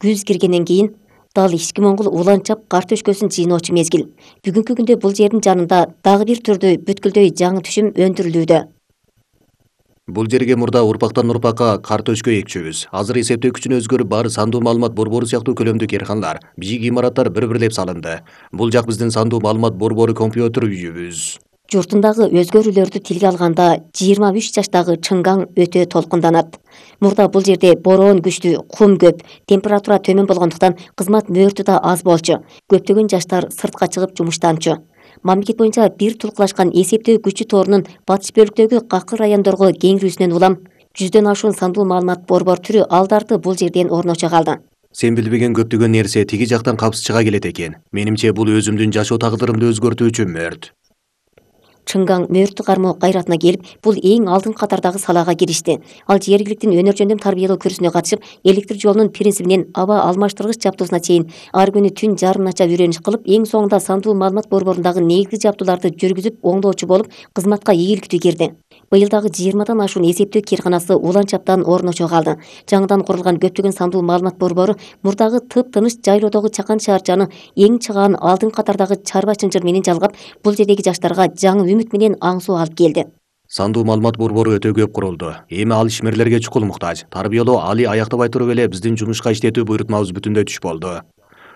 күз киргенден кийин дал ички моңгул уланчап кар төшкөсүн жыйноочу мезгил. Бүгүнкү күндө бул жердин жанында дагы бир түрдүү бүткүлдөй жаңы түшүм өндүрүлүүдө. Бул жерге мурда урпактан урпакка кар төшкө экчүбүз. Азыр эсептөө күчүнө өзгөрүп баары сандуу маалымат борбору сыяктуу көлөмдүү керканалар, бийик имараттар бір-бірлеп салынды. Бул жак биздин сандуу маалымат борбору компьютер үйүбүз. Журтундагы өзгөрүүлөрдү тилге алганда 23 жаштагы Чыңгаң өтө толкунданат. Мурда бул жерде бороон күчтүү, кум көп, температура төмөн болгондуктан кызмат мөөртү да аз болчу. Көптөгөн жаштар сыртка чыгып жумуштанчу. Мамлекет боюнча бир тулкулашкан эсептөө күчү торунун батыш бөлүктөгү какыр райондорго кеңирүүсүнөн улам 100дөн ашуун сандуу маалымат борбор түрү алдарты бул жерден орночо калды. Сен билбеген көптөгөн нерсе тиги жактан капсыз чыга келет экен. Менимче бул өзүмдүн жашоо тагдырымды өзгөртүүчү мөрт. Чыңгаң мөөртү кармоо кайратына келип, бул эң алдын катардагы салаага киришти. Ал жергиликтин өнөр жөндөм тарбиялоо күрсүнө катышып, электр жолунун принцибинен аба алмаштыргыч жабдуусуна чейин ар күнү түн жарымынача үйрөнүш кылып, эң соңунда сандуу маалымат борборундагы негизги жабдууларды жүргүзүп, оңдоочу болуп, кызматка ийгиликтүү кирди. Быйыл дагы 20дан ашуун эсептөө кээрканасы уланчаптан орночо калды. Жаңыдан курулган көптөгөн сандуу маалымат борбору мурдагы тып-тыныч жайлоодогу чакан шаарчаны эң чыгаан алдын катардагы чарба чынжыр менен жалгап, бул жердеги жаштарга жаңы үмүт менен аңсоо алып келди. Сандуу маалымат борбору өтө көп курулду. Эми ал ишмерлерге чукул муктаж. Тарбиялоо али аяктабай туруп эле биздин жумушка иштетүү буйрутмабыз бүтүндөй түш болду.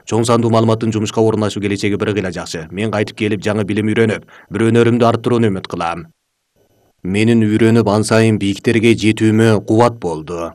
Чоң сандуу маалыматтын жумушка орундашу келечеги бир кыйла жакшы. Мен кайтып келип жаңы билим үйрөнүп, бир өнөрүмдү арттырууну үмүт кылам. Менин үйрөнүп ансайын бийиктерге жетүүмө кубат болду.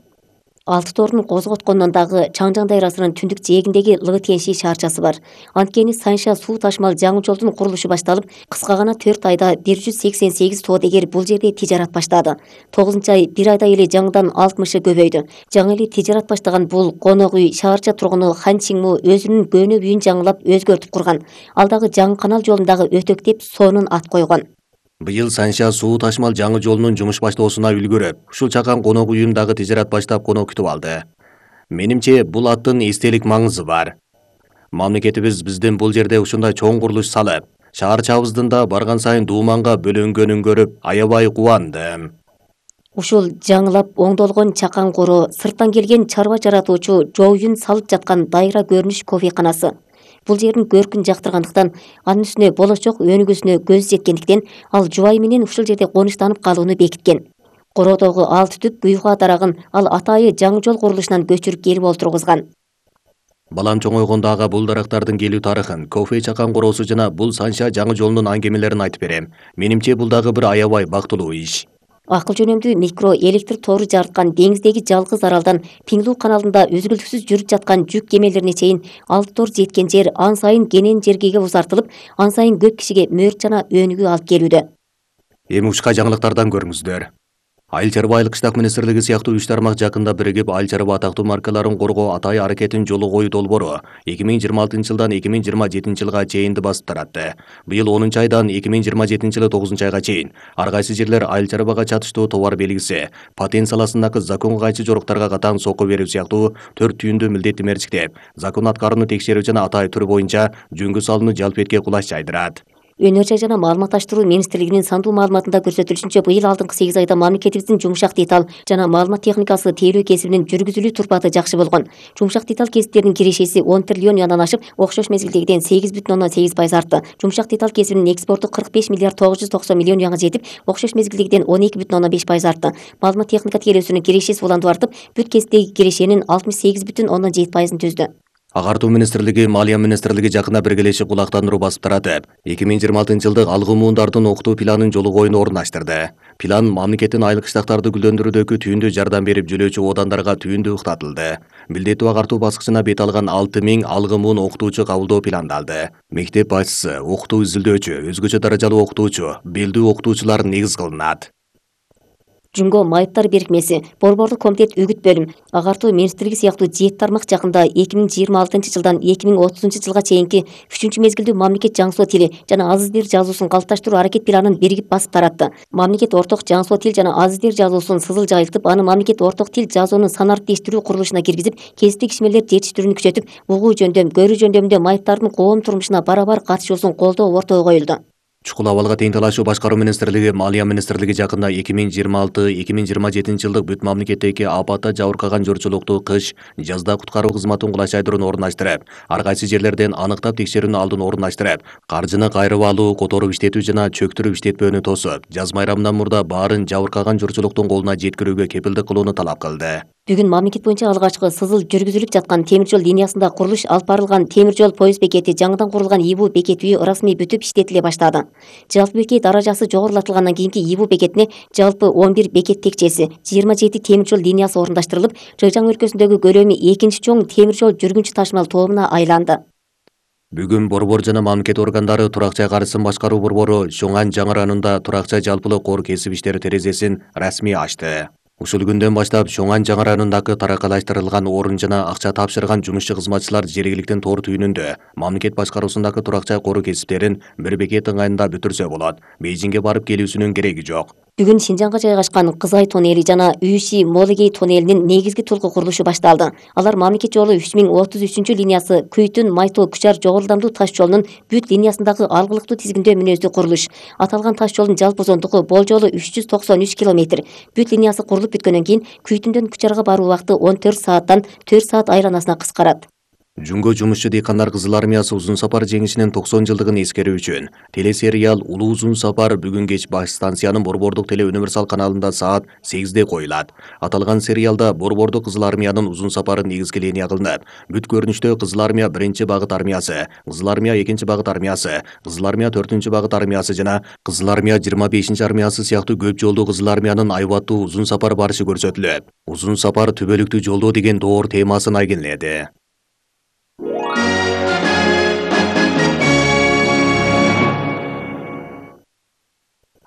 Алты торун козготкондон дагы Чаңжаң дайрасынын түндүк жээгиндеги Лыгытенши шаарчасы бар. Анткени Санша суу ташмал жаңы жолдун курулушу башталып, кыска гана 4 айда 188 соодагер бул жерде тижарат баштады. 9-ай 1 айда эле жаңыдан 60-ы көбөйдү. Жаңы эле тижарат баштаган бул конок үй шаарча тургуну Хан Чиңму өзүнүн көнө үйүн жаңылап өзгөртүп курган. Ал дагы жаңы канал жолундагы өтөктеп сонун ат койгон. Быйыл Санша суу ташмал жаңы жолунун жумуш баштоосуна үлгүрүп, ушул чакан конок үйүн дагы тижарат баштап конок күтүп алды. Менимче бул аттын эстелик маңызы бар. Мамлекетибиз биздин бул жерде ушундай чоң курулуш салып, шаарчабыздын да барган сайын дууманга бөлөнгөнүн көрүп, аябай кубандым. Ушул жаңылап оңдолгон чакан кору, сырттан келген чарба жаратуучу жоойун салып жаткан дайра көрүнүш кофейканасы. Бул жердин көркүн жактыргандыктан, анын үстүнө болочок өнүгүүсүнө көз жеткендиктен, ал жубайы менен ушул жерде конуштанып калууну бекиткен. Короодогу алты түп буйга дарагын ал атайы жаңы жол курулушунан көчүрүп келип олтургузган. Балам чоңойгондо ага бул дарактардын келүү тарыхын, кофе чакан короосу жана бул Санша жаңы жолунун аңгемелерин айтып берем. Менимче бул дагы бир аябай бактылуу иш. Акыл жөнөмдүү микро электр тору жарыткан деңиздеги жалгыз аралдан Пиңлүү каналында үзгүлтүксүз жүрүп жаткан жүк кемелерине чейин алты тор жеткен жер ан сайын кенен жергеге узартылып, ан сайын көп кишиге мөөрт жана өнүгүү алып келүүдө. Эми ушка жаңылыктардан көрүңүздөр. Айыл чарба айыл кыштак министрлиги сыяктуу 3 тармак жакында биригип айыл чарба атактуу маркаларын коргоо атай аракетин жолу коюу долбоору 2026 жылдан 2027 жылга чейинди басып таратты. Быйыл 10 айдан 2027 жылы 9 айга чейин ар кайсы жерлер айыл чарбага чатыштуу товар белгиси, патент саласындагы законго кайчы жоруктарга катаң сокко берүү сыяктуу 4 түйүндүү милдетти мерчиктеп, закон аткарууну текшерүү жана атай түрү боюнча жөнгө салууну жалп этке кулаш жайдырат. Өнөр жай жана маалыматташтыруу министрлигинин сандуу маалыматында көрсөтүлүшүнчө, быйыл алдыңкы 8 айда мамлекетибиздин жумшак деталь жана маалымат техникасы тейлөө кесибинин жүргүзүлүү турпаты жакшы болгон. Жумшак деталь кесиптеринин кирешеси 10 триллион янан ашып, окшош мезгилдегиден 8,8% артты. Жумшак деталь кесибинин экспорту 45 миллиард 990 миллион жаңа жетип, окшош мезгилдегиден 12,5% артты. Маалымат техника тейлөөсүнүн кирешеси улантып артып, бүт кесиптеги кирешенин 68,7%-ын түздү. Агартуу министрлиги, Малия министрлиги жакында биргелешип кулактандыруу басып таратып, 2026 жылдык алгы муундардын окутуу планын жолу коюуну орундаштырды. План мамлекеттин айыл кыштактарды гүлдөндүрүүдөгү түйүндүү жардам берип жүрүүчү одандарга түйүндүү уктатылды. Милдеттүү агартуу баскычына бет алган 6000 алгы муун окутуучу кабылдоо пландалды. Мектеп башчысы, окутуу изилдөөчү, өзгөчө даражалуу окутуучу, белдүү окутуучулар негиз кылынат. Жумго майыптар беркмеси, борбордук комитет үгүт бөлүм, агартуу министрлиги сыяктуу 7 тармак жакында 2026 жылдан 2030 жылга чейинки 3 мезгилдүү мамлекет жаңсоо тили жана азыз дил жазуусун калыпташтыруу аракет планын биригип басып таратты. Мамлекет орток жаңсоо тил жана азыз дил жазуусун сызыл жайылтып, аны мамлекет орток тил жазуунун санариптештирүү курулушуна киргизип, кесиптик ишмерлер жетиштирүүнү күчөтүп, угуу жөндөм, көрүү жөндөмүндө майыптардын коом турмушуна барабар катышуусун колдоо ортого коюлду. Чукул абалга тең талашуу башкаруу министрлиги, Малия министрлиги жакында 2026-2027 жылдык бүт мамлекеттеги апатта жабыркаган журтчулукту кыш, жазда куткаруу кызматын кулайчайдыруун орундаштырып, ар кайсы жерлерден аныктап текшерүүнүн алдын орундаштырып, каржыны кайрып алуу, которуп иштетүү жана чөктүрүп иштетпөөнү тосуп, жаз майрамынан мурда баарын жабыркаган журтчулуктун колуна жеткирүүгө кепилдик кылууну талап кылды. Бүгүн мамлекет боюнча алгачкы сызыл жүргүзүлүп жаткан темир жол линиясында курулуш алып барылган темир жол поезд бекети жаңыдан курулган ИБУ бекет үйү расмий бүтүп иштетиле баштады. Жалпы бекет даражасы жогорулатылгандан кийинки ИБУ бекетине жалпы 11 бекет текчеси, 27 темир жол линиясы орундаштырылып, Жыжаң өлкөсүндөгү көлөмү экинчи чоң темир жол жүргүнчү ташымал тобуна айланды. Бүгүн Борбор жана мамлекет органдары Турак жай каржысын башкаруу борбору Чоңан жаңы районунда турак жай жалпылык кор кесип иштери терезесин расмий ачты. Ушул күндөн баштап Чоңан жаңы районундагы таракалаштырылган орун жана акча тапшырган жумушчу кызматчылар жергиликтин тоор түйүнүндө мамлекет башкаруусундагы турак жай кору кесиптерин бир бекет ыңгайында бүтүрсө болот. Бейжиңге барып келүүсүнүн кереги жок. Бүгүн Шинжаңга жайгашкан Кызай тоннели жана Үйши Молыгей тоннелинин негизги толку курулушу башталды. Алар мамлекет жолу 3033 линиясы Күйтүн Майтоо Күчар жогорулдамдуу таш жолунун бүт линиясындагы алгылыктуу тизгиндөө мүнөздүү курулуш. Аталган таш жолдун жалпы узундугу болжолу 393 километр. Бүт линиясы курулуп бүткөндөн кийин Күйтүндөн Күчарга баруу убакыты 14 сааттан 4 саат айланасына кыскарат. Жүнгө жумушчу дыйкандар Кызыл армиясы Узун сапар жеңишинин 90 жылдыгын эскерүү үчүн телесериал Улуу Узун сапар бүгүн кеч баш станциянын Борбордук теле универсал каналында саат 8де коюлат. Аталган сериалда Борбордук Кызыл армиянын Узун сапары негизги линия кылынып, бүт көрүнүштө Кызыл армия 1 багыт армиясы, Кызыл армия 2 багыт армиясы, Кызыл армия 4 багыт армиясы жана Кызыл армия 25 армиясы сыяктуу көп жолдуу Кызыл армиянын айбаттуу Узун сапар барышы көрсөтүлөт. Узун сапар түбөлүктүү жолдоо деген доор темасын айгинеледи.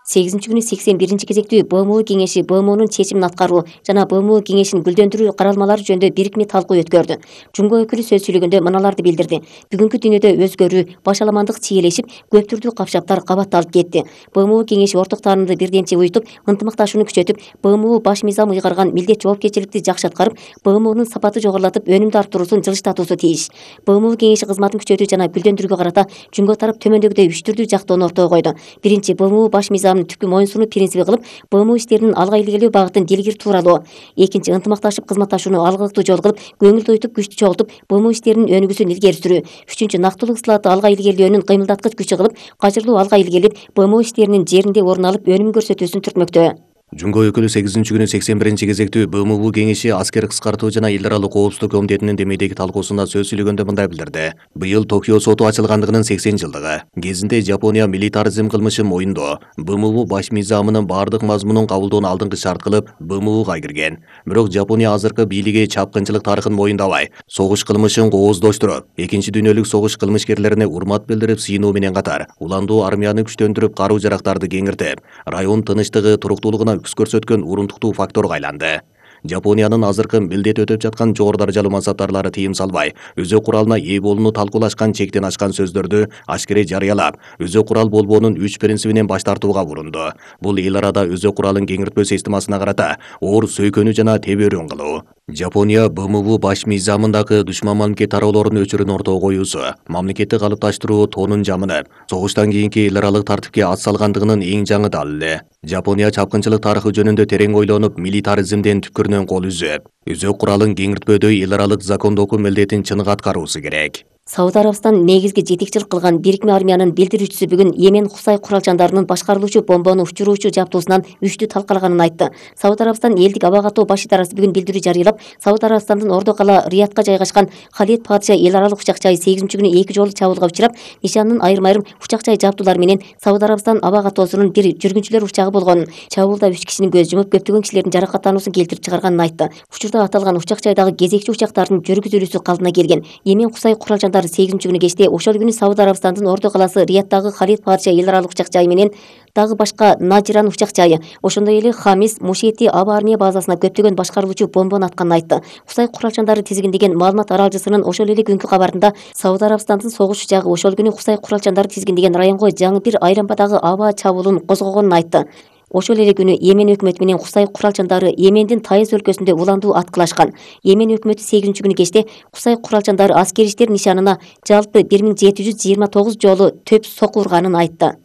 8 күнү 81 кезектүү БМУ кеңеши БМУнун чечимин аткаруу жана БМУ кеңешин гүлдөндүрүү каралмалары жөнүндө бирикме талкуу өткөрдү. Жумго өкүлү сөз сүйлөгөндө мыналарды билдирди. Бүгүнкү дүйнөдө өзгөрүү, башаламандык чиелешип, көп түрдүү капшаптар кабатталып кетти. БМУ кеңеши орток таанымды бирдемчи уютуп, ынтымакташууну күчөтүп, БМУ баш мыйзам ыйгарган милдет жоопкерчиликти жакшы аткарып, БМУнун сапаты жогорулатып, өнүмдү арттыруусун жылыштатуусу тийиш. БМУ кеңеши кызматын күчөтүү жана гүлдөндүрүүгө карата жумго тарап төмөндөгүдөй 3 түрдүү жактоону ортого койду. Биринчи, БМУ баш мыйзамын түпкү моюнсунуу принциби кылып, БМУ иштеринин алга илгерилөө багытын дилгир тууралоо. Экинчи, ынтымакташып кызматташууну алгылыктуу жол кылып, көңүл тойтуп, күчтү чогултуп, БМУ иштеринин өнүгүүсүн илгери сүрүү. Үчүнчү, нактылуу ысылатты алга илгерилөөнүн кыймылдаткыч күчү кылып, кажырлуу алга илгерилип, БМУ иштеринин жеринде орун алып, өнүм көрсөтүүсүн түртмөктө. Жумго өкүлү 8 күнү 81 кезектүү БМУ кеңеши аскер кыскартуу жана эл аралык коопсуздук комитетинин демейдеги талкуусунда сөз сүйлөгөндө мындай билдирди. Быйыл Токио соту ачылгандыгынын 80 жылдыгы. Кезинде Жапония милитаризм кылмышын моюндоо, БМУ баш мыйзамынын бардык мазмунун кабылдоону алдыңкы шарт кылып, БМУга кирген. Бирок Жапония азыркы бийлиги чапкынчылык тарыхын моюндабай, согуш кылмышын кооздоштуруп, Экинчи дүйнөлүк согуш кылмышкерлерине урмат билдирип сыйынуу менен катар, уландуу армияны күчтөндүрүп, каруу жарактарды кеңиртип, район тынычтыгы, туруктуулугуна үкс көрсөткөн урунтуктуу факторго айланды. Жапониянын азыркы милдет өтөп жаткан жогору даражалуу мансаптарлары тыйым салбай, өзө куралына ээ болууну талкуулашкан чектен ашкан сөздөрдү ашкере жарыялап, өзө курал болбоонун 3 принцибинен баш тартууга урунду. Бул эл арада өзө куралын кеңиртпөө системасына карата оор сөйкөнүү жана тебөрүүн кылуу. Жапония БМУ баш мыйзамындагы душман мамлекет тароолордун өчүрүн ортого коюусу, мамлекетти калыпташтыруу тонун жамынып, согуштан кийинки эл аралык тартипке ат салгандыгынын эң жаңы далили. Жапония чапкынчылык тарыхы жөнүндө терең ойлонуп, милитаризмден түпкүрүнөн кол үзүп, өзө куралын кеңиртпөөдөй эл аралык закондоку милдетин чыныгы аткаруусу керек. Сауд Арабистан негизги жетекчилик кылган бирикме армиянын билдирүүчүсү бүгүн Йемен Хусай куралчандарынын башкарылуучу бомбону учуруучу жабдуусунан үчтү талкалаганын айтты. Сауд Арабистан элдик аба катоо баш идарасы бүгүн билдирүү жарыялап, Сауд Арабистандын ордо кала Риядка жайгашкан Халид Падыша эл аралык учак жайы 8 күнү 2 жолу чабуулга учурап, нишанынын айрым учак жай жабдуулары менен Сауд Арабистан аба катоосунун бир жүргүнчүлөр учагы болгонун, чабуулда 3 кишинин көз жумуп, көптөгөн кишилердин жаракаттануусун келтирип чыгарганын айтты. Учурда аталган учак жайдагы кезекчи учактардын жүргүзүлүүсү калдына келген. Йемен Хусай куралчандары 8 күнү кечте ошол күнү Сауд Арабистандын ордо каласы Рияддагы Халид Падыша эл аралык учак жайы менен дагы башка Наджиран учак жайы, ошондой эле Хамис Мушети аба армия базасына көптөгөн башкарылуучу бомбону атканын айтты. Хусай куралчандары тизгиндеген маалымат аралжысынын ошол эле күнкү кабарында Сауд Арабистандын согуш учагы ошол күнү Хусай куралчандары тизгиндеген районго жаңы бир айлампадагы аба чабуулун козгогонун айтты. Ошол эле күнү Йемен өкмөтү менен Хусай куралчандары Йемендин Таиз өлкөсүндө уландуу аткылашкан. Йемен өкмөтү 8 күнү кечте Хусай куралчандары аскери иштер нишанына жалпы 1729 жолу төп соку урганын айтты.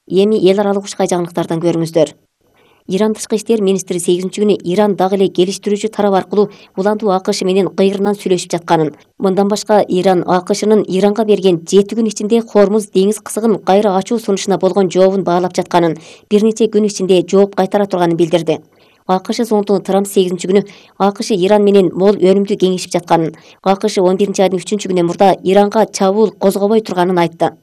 Эми эл аралык ушкай жаңылыктардан көрүңүздөр. Иран тышкы иштер министри 8-күнү Иран дагы эле келиштирүүчү тарап аркылуу улантуу АКШ менен кыйрынан сүйлөшүп жатканын, мындан башка Иран АКШнын Иранга берген 7 күн ичинде Хормуз деңиз кысыгын кайра ачуу сунушуна болгон жообун баалап жатканын, бир нече күн ичинде жооп кайтара турганын билдирди. АКШ зондугу Трамп 8-күнү АКШ Иран менен мол өнүмдүү кеңешип жатканын, АКШ 11-айдын 3-күнүнөн мурда Иранга чабуул козгобой турганын айтты.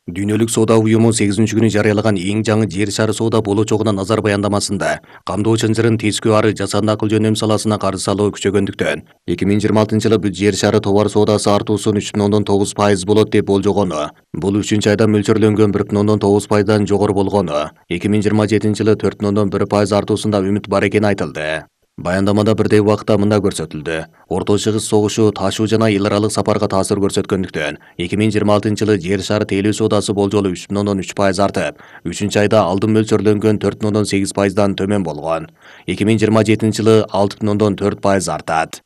Дүйнөлүк соода уюму 8-күнү жарыялаган эң жаңы жер шары соода болочогуна назар баяндамасында камдоо чынжырын тескөө ары жасанды акыл жөнөм саласына каршы салуу күчөгөндүктөн 2026-жылы бүт жер шары товар соодасы артуусу 3,9% болот деп болжогону, бул 3-айда мөлчөрлөнгөн 1,9%дан жогору болгону, 2027-жылы 4,1% артуусунда үмүт бар экени айтылды. Баяндамада бирдей убакытта мында көрсөтүлдү. Орто Чыгыш согушу ташуу жана эл аралык сапарга таасир көрсөткөндүктөн 2026-жылы жер шары тейлөө соодасы болжолу 3,3% артып, 3-айда алдын мөлчөрлөнгөн 4,8%дан төмөн болгон. 2027-жылы 6,4% артат.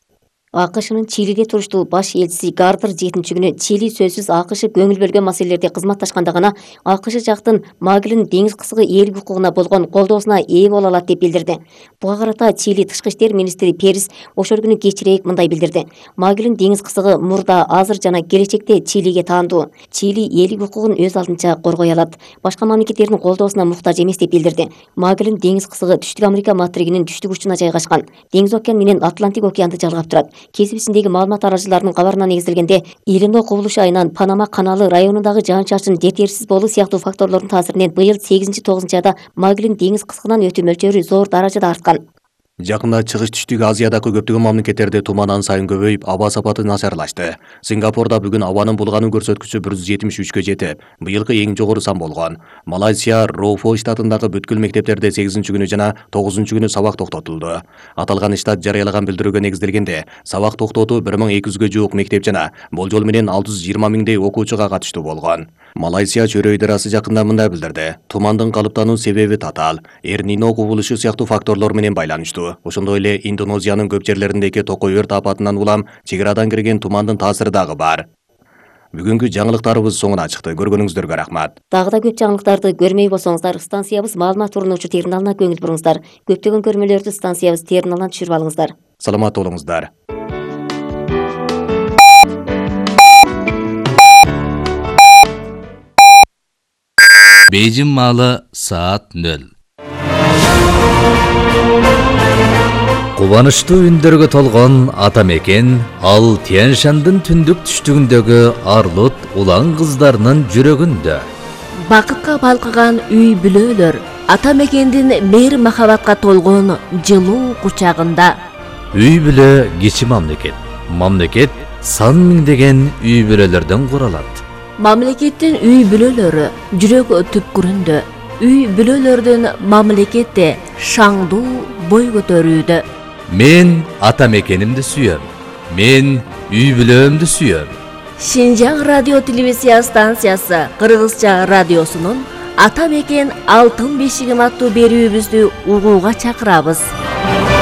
АКШнын Чилиде туруштуу баш элчиси Гардер 7-күнү Чили сөзсүз АКШ көңүл бөлгөн маселелерде кызматташканда гана АКШ жактын Маглин деңиз кысыгы ээлик укугуна болгон колдоосуна ээ боло алат деп билдирди. Буга карата Чили тышкы иштер министри Перес ошол күнү кечирээк мындай билдирди. Маглин деңиз кысыгы мурда, азыр жана келечекте Чилиге таандуу. Чили ээлик укугун өз алдынча коргой алат. Башка мамлекеттердин колдоосуна муктаж эмес деп билдирди. Маглин деңиз кысыгы Түштүк Америка материгинин түштүк учуна жайгашкан. Деңиз океан менен Атлантик океанды жалгап турат. Кесипсиндеги маалымат арачыларынын кабарына негизделгенде, Илино кубулуш айынан Панама каналы районундагы жаан-чачын жетерсиз болуу сыяктуу факторлордун таасиринен быйыл 8-9 айда Маглин деңиз кысыгынан өтүү мөлчөрү зор даражада арткан. Жакында Чыгыш Түштүк Азиядагы көптөгөн мамлекеттерде туман ан сайын көбөйүп, аба сапаты начарлашты. Сингапурда бүгүн абанын булгануу көрсөткүчү 173-кө жетип, быйылкы эң жогору сан болгон. Малайзия Роуфо штатындагы бүткүл мектептерде 8-күнү жана 9-күнү сабак токтотулду. Аталган штат жарыялаган билдирүүгө негизделгенде, сабак токтотуу 1200-гө жуук мектеп жана болжол менен 620 миңдей окуучуга катыштуу болгон. Малайзия чөйрө ыдырасы жакында мындай билдирди. Тумандын калыптануу себеби татаал, Эр-Нино кубулушу сыяктуу факторлор менен байланыштуу. Ошондой эле Индонезиянын көп жерлериндеги токой өрт апатынан улам чек-арадан кирген тумандын таасири дагы бар. Бүгүнкү жаңылыктарыбыз соңуна чыкты. Көргөнүңүздөргө рахмат. Дагы да көп жаңылыктарды көрмөй болсоңуздар, станциябыз маалымат урунуучу терминалына көңүл буруңуздар. Көптөгөн көрмөлөрдү станциябыз терминалынан түшүрүп алыңыздар. Саламат болуңуздар. Бейжин маалы саат 0. Кубанычтуу үндөргө толгон ата мекен ал Тянь-Шандын түндүк түштүгүндөгү Арлут улан кыздарынын жүрөгүндө. Бакытка балкыган үй бүлөлөр ата мекендин мейир махабатка толгон жылуу кучагында. Үй бүлө кичи мамлекет. Мамлекет сан миңдеген үй бүлөлөрдөн куралат. Мамлекеттин үй бүлөлөрү жүрөк түпкүрүндө. Үй бүлөлөрдүн мамлекетте шаңдуу бой көтөрүүдө. Мен ата мекенимди сүйөм. Мен үй бүлөмдү сүйөм. Шинжаң радио телевизия станциясы Кыргызча радиосунун Ата мекен алтын бешигим аттуу берүүбүздү угууга чакырабыз.